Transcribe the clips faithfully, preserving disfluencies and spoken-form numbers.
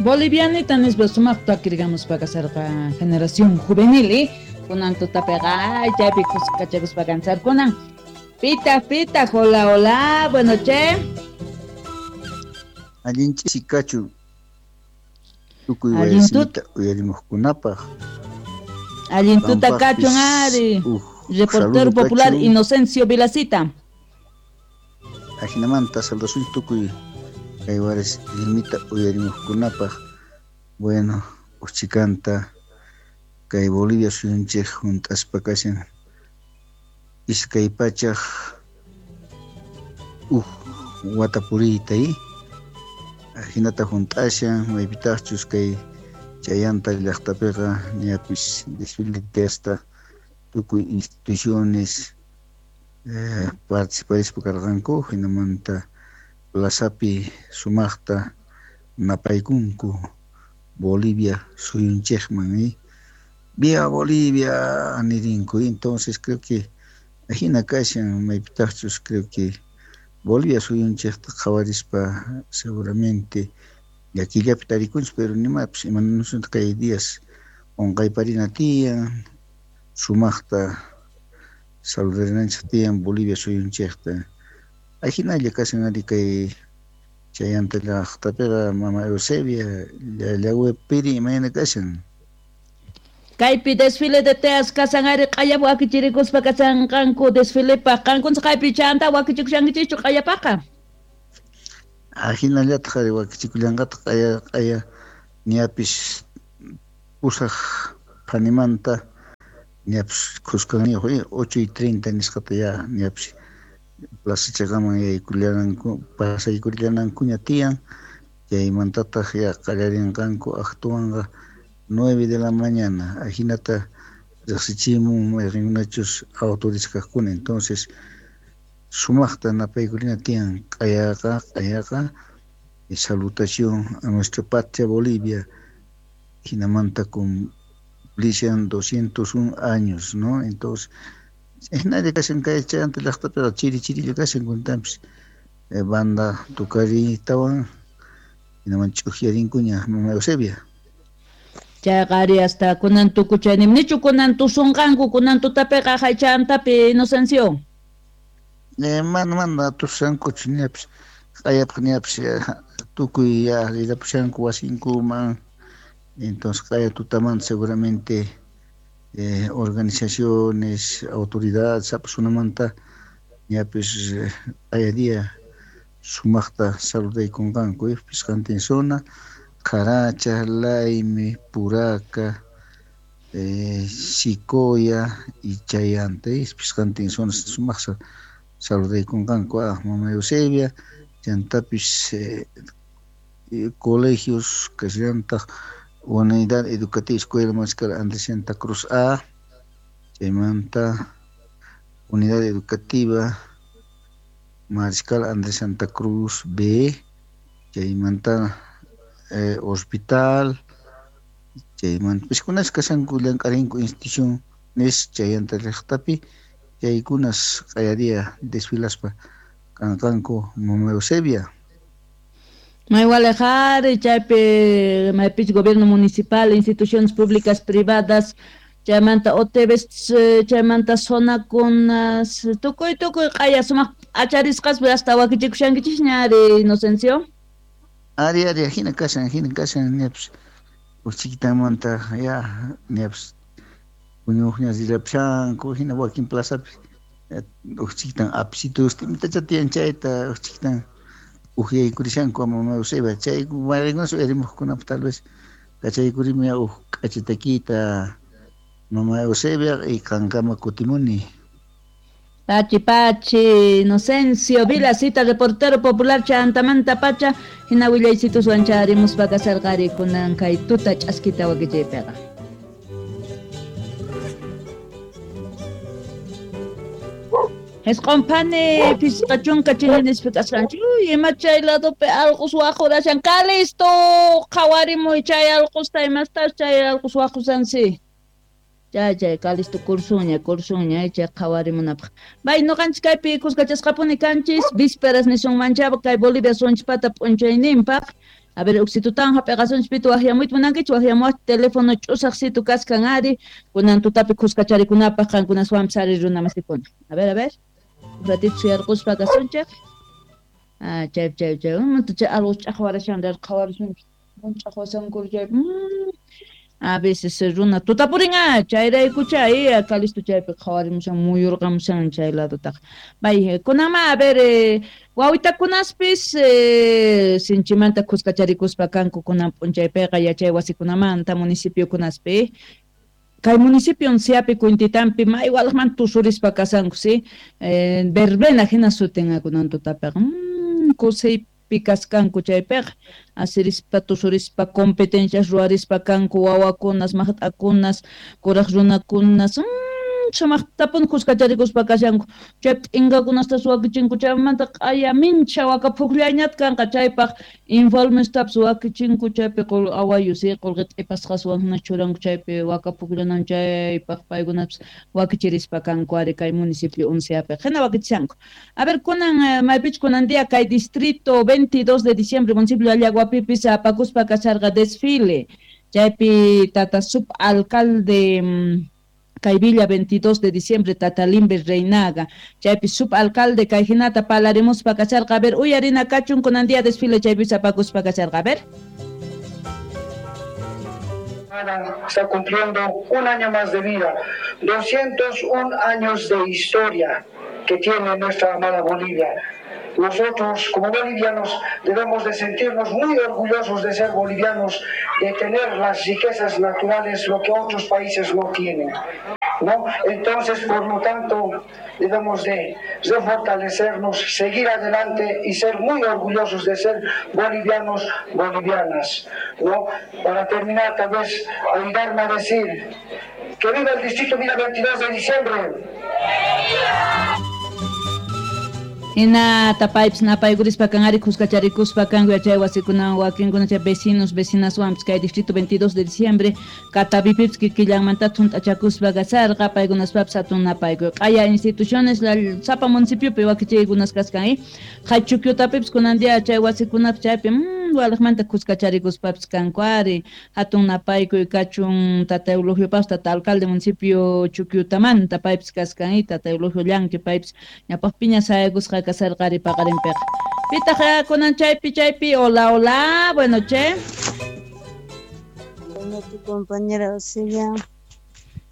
Bolivianita nispa sumaqta takirqamuspa kasarqa generación juvenil, ¿eh? Kunan tutapiqa chaypi kuskachakuspa kansarkunan. Pita, pita, hola, hola, bueno, che. Allin ch'isi kachun. Tukuy wayasimita uyarimuqkunapaq. Allin tuta kachun ari. Reportero popular kachun. Inocencio Vilacita. Ajinamanta saludasun tukuy kay waris limita uyarimuqkunapaq. Bueno, uchikanta kay Bolivia suyunchik hunt'aspa kashan iskay pachaq uj wata puriyta, ¿eh? Ajinata hunt'ashan maypitaqchus kay chayanta llaqtapiqa ñapis desfile testa tukuy instituciones eh, participarispa karqanku hinamanta plazapi sumaqta napaykunku Bolivia suyunchikman, ¿eh? ¡Viva Bolivia! Nirinku. Entonces creo que ajina kashan maypitaqchus creo que Bolivia suyunchikta qhawarispa seguramente llakillapi tarikunchik, pero nimapis imanunsunta kay días qunqayparina tiyan sumaqta saludarinanchik tiyan Bolivia suyunchikta. Ajinalla kashan ari kay chayanta llaqtapiqa mama Eusebia llawepiri imayna kashan. Kaypi desfile de teas kasan ari q'aya wakichirikuspa kasanqanku desfilepaq qankunchik kaypi chanta wakichikushankichikchu q'ayapaqa. Ajinallataq ari wakichikullanqataq q'aya q'aya ñapis pusaq phanimanta ñapis khuskaniyuq ocho y treinta nisqata ya ñapis plaza chaqaman yaykullananku pasaykullanankuña tiyan chaymantataq ya qallarinqanku actuanqa nueve de la mañana, ajinata riqsichimun mayqinkunachus autoridades. Entonces sumaqta napaykulina tiyan q'ayaqa q'ayaqa y salutación a nuestra patria Bolivia hinamanta cumplishan doscientos un años, ¿no? Entonces hinalla kashan kay chayanta llaqtapiqa chiri chirilla kashan kuntanpis eh, banda tukaritawan hinaman ch'uqyarinkuña mama Eusebia. Chayqa ari hasta kunan tukuchaynim nichu kunan tusunqanku kunan tutapiqa haychantapi Inocencio. Eh, mana mana tusankuchu ñapis q'ayapaq ñapis tukuy ya rirapushanku wasinkuman. Entonces q'aya tutamanta seguramente eh, organizaciones, autoridades sapasunamanta ñapis q'aya día sumaqta saludaykunqanku eh, pisqantin zona Caracha, Laime, Puraca, eh, Sicoya y Chayanta, pisqantin zona sumaqta saludaykunqanku ah, mama Eusebia, chantapis eh, colegios kashallantaq Unidad Educativa Escuela Mariscal Andrés Santa Cruz A, chaymanta Unidad Educativa Mariscal Andrés Santa Cruz B, chaymanta eh, hospital, chaymanta piskunas kashanku llank'arinku instituciones chayanta llaqtapi chaykunas q'ayaria desfilaspa kanqanku mama Eusebia. Maywalejari chaypi maypich gobierno municipal, instituciones públicas privadas, chaymanta O T Vs, chaymanta zonakunas, tukuy tukuy q'aya sumaq acharisqaspi hasta wakichikushankichikña ari Inocencio. Ari ari hina kashan hina kashan ñapis uchikitamanta ya ñapis puñuqña rirapushanku hina wakin plazapi uchikitan apsitus imitacha tiyan chayta uchikitan uhyaykurishanku mama Eusebia chay mayqinkunas uyarimuqkunapaq tal vez kachaykurimi uj k'achitakita mama Eusebia y qankama kutimuni. Pachi Pachi, Inocencio Vilacita, reportero popular chantamanta pacha, hina willaysitus wancharimuspa kasarqari kunan kay tuta ch'askita wakichaypiqa. Esqonphani pisqa chunka chininispi kasqanchik. Uy, ima chay ladopi allqus waqurashan. Calisto, qhawarimuy chay allqusta imastas chay allqus waqushansi. Chay chay Calisto kursuña kursuña chay qhawarimunapaq. Bay nuqanchik kaypi kuskachasqapuni kanchis vísperas nisunmanchaba kay Bolivia sunchpata p'unchayninpaq. A ver, uksitutan hap'iqasunchis pito waqyamuyta munankichis waqyamuwaq teléfono ch'usaqsitu kaskan ari kunan tutapi kuskacharikunapaq qankunaswanpis ari runa masikuna. A ver, a ver. Un ratito suyarquspa kasunchik. Ah, chay chay chay. Chay algo ch'aqwarashan qhawarisunchis. Ch'aqwasanku chay. A veces runa tutapurin ah, chayraykucha eh, Calisto chaypi qhawarimushan muyurqamushan chay ladotaqa. May kunama a ver eh, wawitakunaspis eh, sinchimanta kuskacharikuspa kanku kunan p'unchaypiqa yachay wasikunamanta municipiokunaspi. Kay municipio Siapi Quintitampi may walaqman tusurispa kasanku si eh, verbena hina sutin kunan tutapiqa. Mm, kusay kaskanku chaypiqa asirispa tusurispa competencias ruwarispa kanku wawakunas maqt'akunas kuraq runakunas mm, sumaqtapuni kuskacharikuspa kashanku chaypi t'inkakunastas wakichinku chaymanta q'aya mincha waka phuqllayñata kanqa chaypaq informestapas wakichinku chaypi awayu si qullqi t'ipasqaswan hina churanku chaypi waka phuqllanan chaypaq paykunapas wakichirispa kanku ari kay municipio Unciapiqa hina wakichishanku. A ver kunan maypichu kunan día kay distrito veintidós de diciembre municipio Allaguapipis apakuspa kasharqa desfile chaypi tata subalcalde kay Villa veintidós de diciembre tata Limber Reinaga chaypi subalcalde kay hinata palarimuspa kasharqa. A ver uyarina kachun kunan día desfile chaypi apakuspa kasharqa. A ver. Está cumpliendo un año más de vida, doscientos un años de historia que tiene nuestra amada Bolivia. Nosotros, como bolivianos, debemos de sentirnos muy orgullosos de ser bolivianos, de tener las riquezas naturales, lo que otros países no tienen, ¿no? Entonces, por lo tanto, debemos de refortalecernos, seguir adelante y ser muy orgullosos de ser bolivianos, bolivianas, ¿no? Para terminar, tal vez, ayudarme a decir que viva el distrito Villa veintidós de diciembre. Hina tapaypis napaykurispa kan ari kuskacharikuspa kanku yachay wasikunawan wakinkuna chay vecinos vecinaswanpis kay distrito veintidós de diciembre Katavipipis kikillanmanta thunt'achakuspa kasarqa paykunaspapis hatun napaykuy q'aya instituciones la sapa municipiopi wakichiykunas kaskan eh Qhaychukyutapipis kunan día chay wasikunapis chaypi mm, walaqmanta kuskacharikuspapis kanku ari hatun napaykuy kachun tata Eulogiopapas tata alcalde municipio Chukyutamanta paypis kaskan eh tata Eulogio Llanqui paypis ñapaq piña sayaykusqa kasarqari paqarinpiqa. Pitaq kunan chaypi chaypi hola hola bueno che. Buenas noches, compañera Auxilia.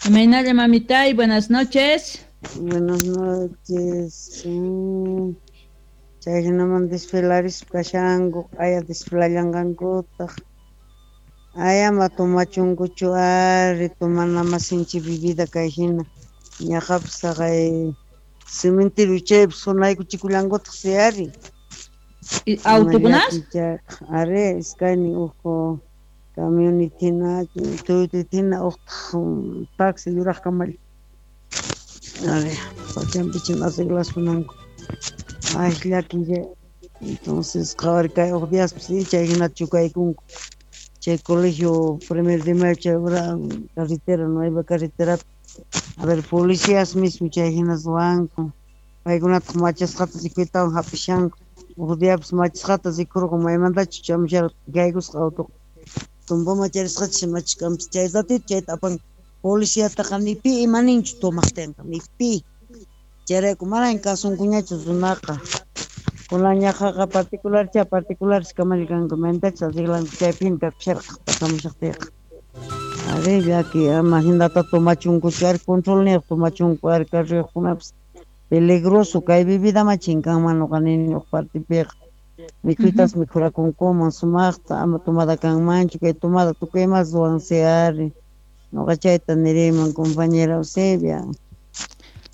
Imaynalla mamitay, buenas noches. Buenas noches. Mm. Chay hinaman desfilarispa kashanku, q'aya desfilallanqankutaq. Ayama tomachunkuchu ari tomana masinchi bebida kay hina. Ñaqapis taqay cementerio chaypi sunaykuchikullankutaq si ari. Autokunas? Ari, iskaynin uq camionetina, Toyotatina, uqtaq taxi yuraq kamalla. Ari, pachanpichin arreglasunanku. Ay, llaki. Entonces, qhawari kay uq diaspis chay hinata chukaykunku. Chay colegio primer de mayo chay ura carretera, nueva carretera. A ver, policías mismo chay hinas ruwanku. Paykunataq machasqata rikuytawan hap'ishanku. Uq diapis machasqata rikurqu maymantachu chamusharqa kaykusqa auto. Tumpa macharisqacha machkanpis chay ratito chayta apanku. Policiataqa ni pi imaninchu tomaqtinqa, ni pi. Chayrayku manan kasunkuñachu runaqa. Kunan ñaqaqa particularcha particulares kamalla kanku maymantachu arreglanku chaypina kakusharqa pasamushaqtiyqa. Ari llaki ama hinata tomachunkuchu ari controlniyuq tomachunku ari carruyuqkunapis peligroso kay bebida ma chinkanman nuqa nini uq partipiqa. Mikhuytas mikhurakunkuman sumaqta ama tomada kanmanchu kay tomada tukuy imas ruwansi ari. Nuqa chayta niriman compañera Eusebia.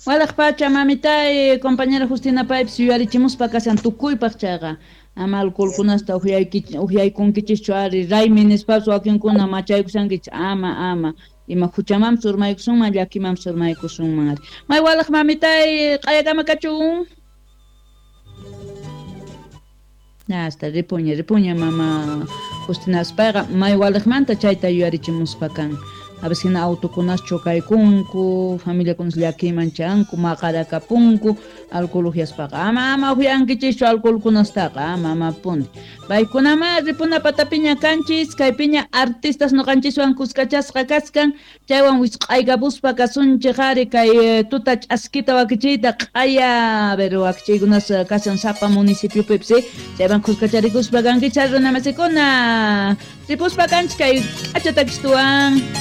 Walaq pacha mamitay compañera Justina paypis yuyarichimuspa kashan tukuypaq chayqa ama alcoholkunasta uhyaykunkichischu ari raymi nispapas wakinkuna machaykushankichis ama ama ima huchamanpis urmaykusunman llakimanpis urmaykusunman ari. May walaq mamitay q'ayakama kachun. Hasta ripuña ripuña mama Justina payqa may walaqmanta chayta yuyarichimuspa kan. A veces hina autokunas chocaykunku, familiakunas llakiyman chanku, maqarakapunku alcohol uhyaspaqa. Ama ama uhyankichischu alcoholkunastaqa, ama amapuni. Paykunama ripuna patapiña kanchis, kaypiña artistas nuqanchiswan kuskachasqa kaskan, chaywan wisq'aykapuspa kasunchik ari kay tuta ch'askita wakichiyta q'aya, a ver wakichiykunas kashan sapa municipiopipas, chaywan kuskacharikuspa kankichis runamasikuna. Ripuspa kanchis kay k'acha takistuwan.